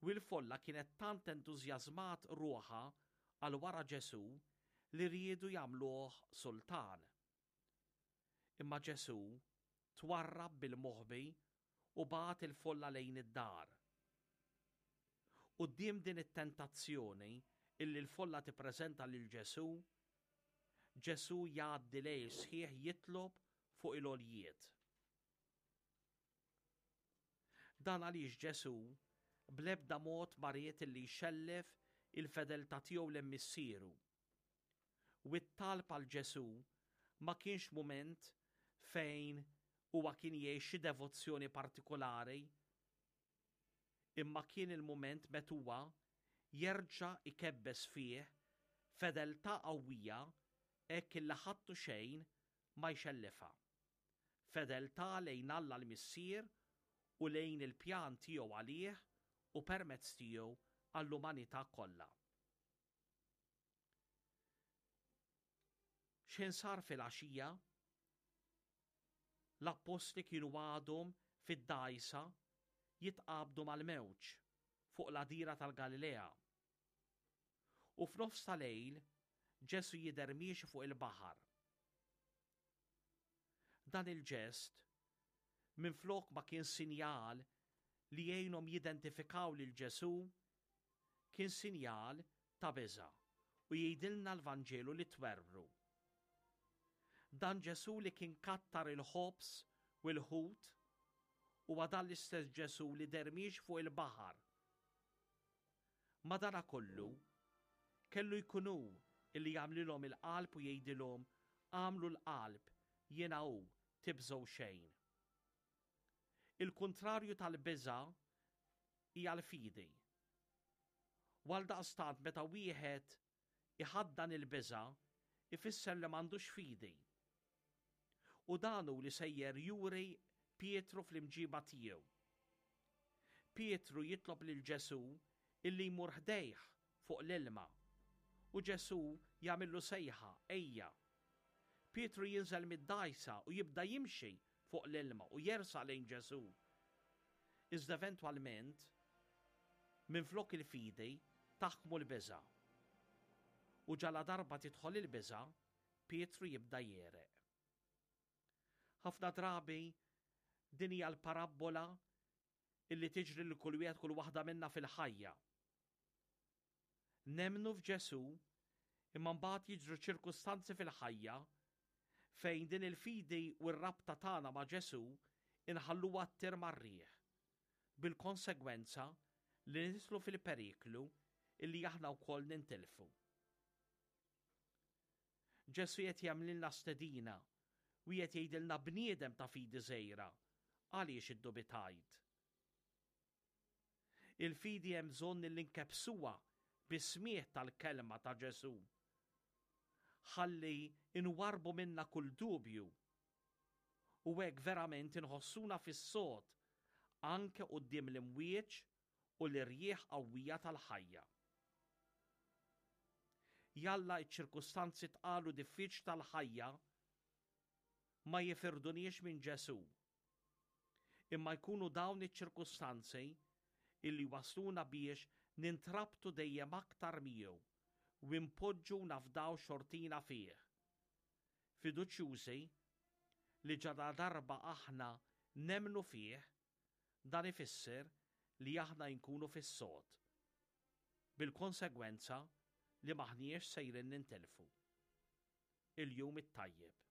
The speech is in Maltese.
U l-folla kienet tant entużjażmat ruħha għal wara Ġesù li riedu jagħmluh sultan. Imma Ġesù twarrab bil-moħbi u bagħat il-folla lejn id-dar. Quddiem din it-tentazzjoni illi l-folla tippreżenta lil Ġesù, Ġesù jgħaddi lejl sħiħ jitlob fuq il-għoljiet. Dan għaliex Ġesù bl-ebda mod ma ried illi jxellef il-fedeltà tiegħu lejn Missieru. U t-talb għal Ġesù ma kienx mument fejn huwa kien jgħix xi devozzjoni partikulari, imma kien il-mument met huwa jerġa' jkebbes fih fedeltà qawwija hekk illi ħadd u xejn ma jxellifha. Fedeltà lejn Alla l-Missier u lejn il-pjan tiegħu għalih u permezz tiegħu għall-umanità kollha. X'ħin sar filgħaxija, l-appostli kienu għadhom fid-dgħajsa jitqabdu mal-mewġ fuq l-għadira tal-Galilea. U f'nofs ta' lejl Ġesù jidher miexi fuq il-baħar. Dan il-ġest, minflok ma kien sinjal li jgħinhom jidentifikaw lil Ġesù, kien sinjal ta' biża' u jgħidilna l-Vanġelu li twerwru. Dan Ġesù li kien kattar il-ħobż u l-ħut huwa dan l-istess Ġesù li deher miexi fuq il-baħar. Madanakollu, kellu jkun hu illi jagħmlilhom il-qalb u jgħidilhom, Agħmlu l-qalb, jiena hu, tibżgħu xejn. Il-kuntrarju tal-biża' hija l-fidi. U għaldaqstant meta wieħed iħaddan il-biża' ifisser li m'għandux fidi. U dan hu li sejjer juri Pietru fl-imġiba tiegħu. Pietru jitlob lil Ġesù illi jmur ħdejh fuq l-ilma. U Ġesù jagħmillu sejħa, Ejja. Pietru jinżel mid-dgħajsa u jibda jimxi fuq l-ilma u jersaq lejn Ġesù. Iżda eventwalment, minflok il-fidi, taħkmu l-biża'. U ġaladarba tidħol il-biża', Pietru jibda jegħreq. Ħafna drabi din hija l-parabbola illi tiġri lil kull wieħed kull waħda minna fil-ħajja. Nemmnu f'Ġesù imma mbagħad jiġru ċirkustanzi fil-ħajja fejn din il-fidi u r-rabta tagħna ma' Ġesù inħalluha ttir mar-riħ, bil-konsegwenza li nidħlu fil-periklu illi aħna wkoll nintilfu. Ġesù qed jagħmlilna stedina u qed jgħidilna bniedem ta' fidi żgħira, għaliex iddubitajt? Il-fidi hemm bżonn li nkebbsuha bis-smigħ tal-kelma ta' Ġesù. Ħalli nwarrbu minna kull dubju u hekk verament inħossuna fis-sod anke quddiem l-imwieġ u l-irjieħ qawwija tal-ħajja. Jalla ċ-ċirkustanzi tqal u diffiċli tal-ħajja ma jifirduniex minn Ġesù. Imma jkunu dawn iċ-ċirkustanzi illi jwassluna biex nintrabtu dejjem aktar miegħu u npoġġu u nafdaw xortina fih. Fiduċjużi li ġaladarba aħna nemmnu fih, dan ifisser li aħna nkunu fis-sod, bil-konsegwenza li m'aħniex sejrin nintilfu. Il-jum it-tajjeb.